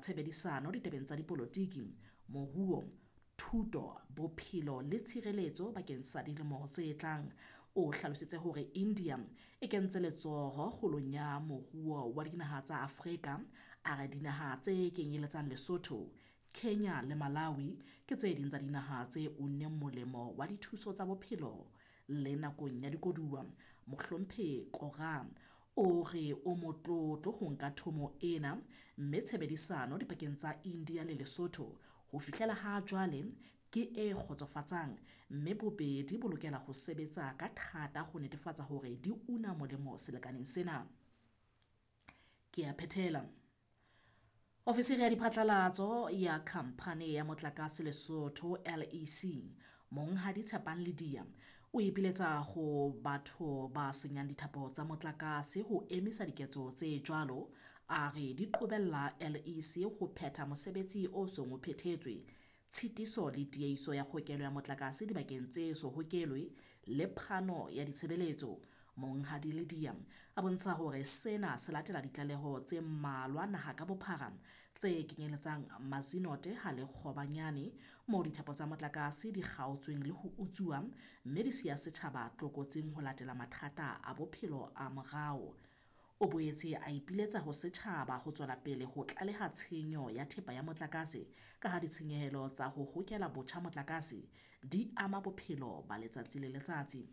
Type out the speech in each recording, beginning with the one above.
tshebedisano ditabeng tsa dipolotiki, moruo, thuto, bophelo le tshireletso bakeng sa dilemo tse tlang. O hlalositse hore India e kentse letsoho kgolong ya moruo wa dinaha tsa Afrika, a re dinaha tse kenyeletsang Lesotho, Kenya le Malawi ke tse ding tsa dinaha tse unneng molemo wa dithuso tsa bophelo le nakong ya dikoduwa. Mohlomphehi Korah o re o motlotlo ho nka thomo ena, mme tshebedisano dipakeng tsa India le Lesotho ho fihlela ha jwale ke e kgotsofatsang, mme bobedi bo lokela ho sebetsa ka thata ho netefatsa hore di una molemo selekaneng sena. Ke a phethela. Ofisiri ya diphatlalatso ya khamphane ya motlakase Lesotho LEC, Monghadi Tshepang Ledia, o ipiletsa ho batho ba senyang dithapo tsa motlakase ho emisa diketso tse jwalo, a re di qobella LEC ho phetha mosebetsi o seng o phethetswe, tshitiso le tiehiso ya kgokelo ya motlakase dibakeng tse so hokelwe le phano ya ditshebeletso. Monghadi Ledia a bontsha hore sena se latela ditlaleho tse mmalwa naha ka bophara tse kenyeletsang Mazinote ha le Kgobanyane moo dithapo tsa motlakase di kgaotsweng le ho utsuwa mme di siya setjhaba tlokotsing ho latela mathata a bophelo a morao. O boetse a ipiletsa ho setjhaba ho tswela pele ho tlaleha tshenyo ya thepa ya motlakase ka ha ditshenyehelo tsa ho hokela botjha motlakase di ama bophelo ba letsatsi le letsatsi.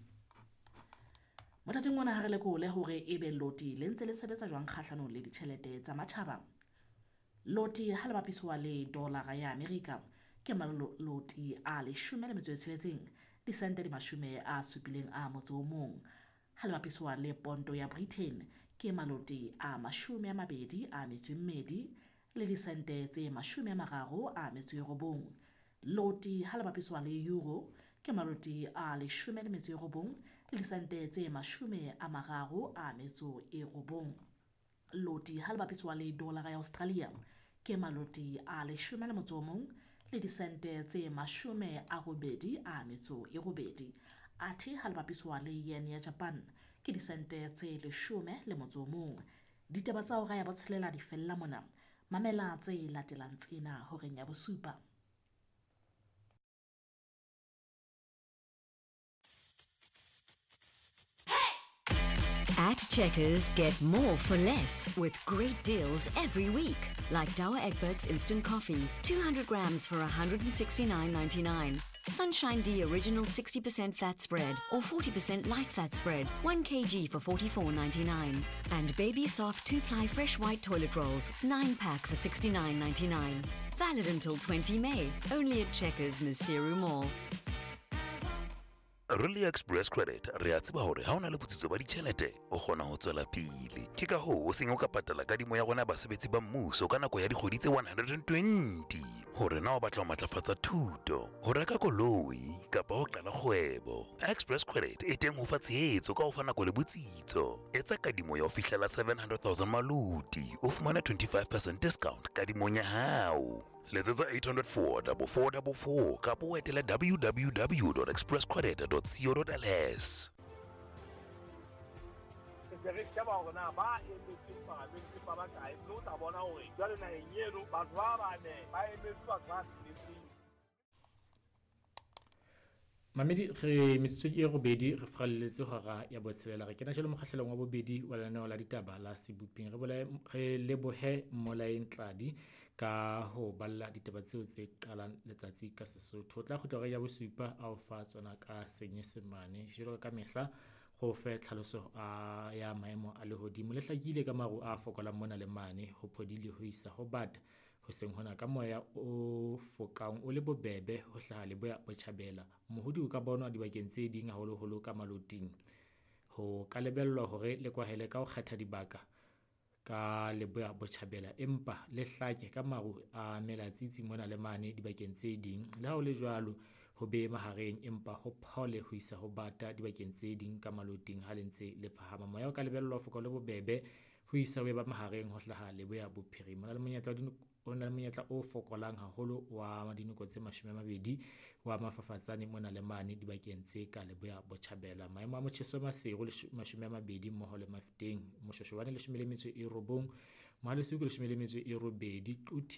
Mothating ona ha re lekole hore ebe loti le ntse le sebetsa jwang kgahlanong le ditjhelete tsa matjhaba. Loti ha le bapiswa le dolara ya Amerika ke maloti a 16 disente di 71. Ha le bapiswa le ponto ya Britain ke maloti a 22 le disente tse 39. Loti ha le bapiswa le euro ke maloti a 19 le disente tse 39. Loti ha le bapiswa le dolara ya Australia ke maloti a 11 le disente tse 88. Athe ha le bapiswa le yen ya Japan ke disente tse 11. Ditaba tsa hora ya botshelela di fella mona. Mamela tse latelang tsena horeng ya bosupa. At Checkers, get more for less with great deals every week. Like Douwe Egberts Instant Coffee, 200 grams for 169.99. Sunshine D Original 60% fat spread or 40% light fat spread, 1 kg for 44.99. And Baby Soft 2-ply fresh white toilet rolls, 9-pack for 69.99. Valid until 20 May, only at Checkers Maseru Mall. Really Express Credit re a tseba hore ha o na le botsitso ba ditjhelete o kgona ho tswela pele. Ke ka hoo o seng o ka patala kadimo ya rona basebetsi ba mmuso ka nako ya dikgwedi tse 120. Hore na o batla ho matlafatsa thuto, ho reka koloi kapa ho qala kgwebo. Express Credit e teng ho fa tshehetso ka ho fa nako le botsitso. Etsa kadimo ya ho fihlela 700,000 maloti, o fumane 25% discount kadimong ya hao. Letsetsa 804 4444 kapa o etele www.expresscredit.co.ls. Se re sheba hore na ba emetseng palamente ba bakae, mme o tla bona hore jwale naheng eno batho ba bane ba emetse batho ba tsheletseng. Mamedi re metsotso e robedi re fralletse hora ya botshelela re kena jalo mokgahlelong wa bobedi wa lenaneo la ditaba la Seboping. Re lebohe Mmolaeng Tladi ka ho balla ditaba tseo tse qalang letsatsi ka Sesotho. O tla kgutla hora ya bosupa a o fa tsona ka Senyesemane. Jwalo ka mehla go fe tlhaloso ya maemo a lehodimo le hlakile ka maru a fokolang mona le mane ho phodile ho isa ho bata hoseng hona ka moya o fokang o le bobebe ho hlaha leboya botjhabela. Mohodi o ka bonwa dibakeng tse ding haholoholo ka maloting. Ho ka lebellwa hore le kwahele ka ho kgetha dibaka ka leboya botjhabela empa le hlake ka maru a melatsitsi mona le mane dibakeng tse ding. Le ha ho le jwalo ho be mahareng empa ho phole ho isa ho bata dibakeng tse ding ka maloting ha le ntse le phahama. Moya o ka lebellwa ho foka le bobebe ho isa ho eba mahareng ho hlaha leboya bophirima. O na le monyetla o fokolang haholo wa dinoko tse 20 wa mafafatsane mona le mane dibakeng tse ka leboya botjhabela. Maemo a motjheso Maseru 20 mmoho le Mafeteng, Moshoshobane 19, Mohalesuku 18, Quthi